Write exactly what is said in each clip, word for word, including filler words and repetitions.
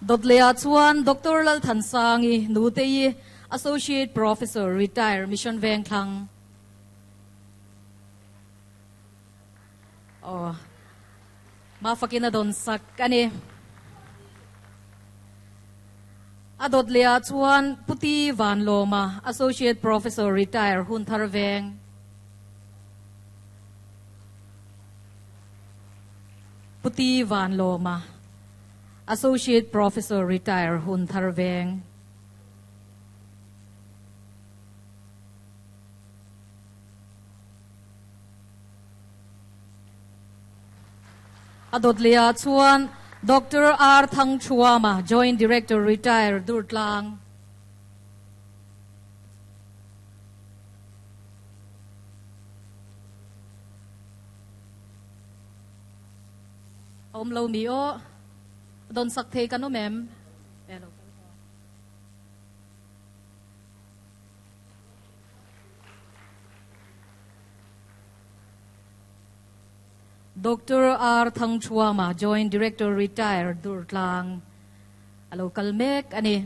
Dotlea chuan Doctor Lal Thansangi Nutei Associate Professor Retire Mission Vengthlang. Oh, mafakina don sak ani. Adot lea chuan Puti Van Loma Associate Professor Retire Hun Thar Veng. Puti Van Loma Associate Professor Retire Hun Thar Veng. Adot lea chuan Doctor R. Thang Chuama, Joint Director, Retire, Durtlang. Om lo mi o, don sak the kanu mem. Hello. Doctor R. Thang Chuama, Joint Director, Retire, Durtlang. Alo kalmek ani.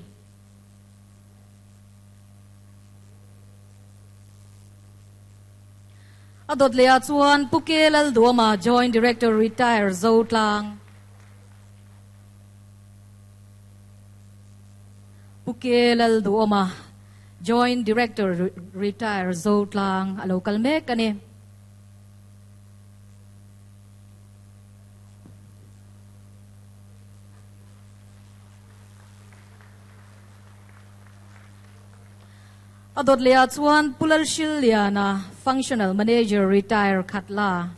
Adot lea chuan Pukelal Duama, Joint Director, Retire, Zotlang. Pukelal Duama, Joint Director, Retire, Zotlang. Alo kalmek ani. Adot lea chuan Pulal Shiliana, Functional Manager, Retire, Khatla.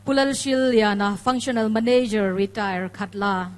Pulal Shiliana, Functional Manager, Retire, Khatla.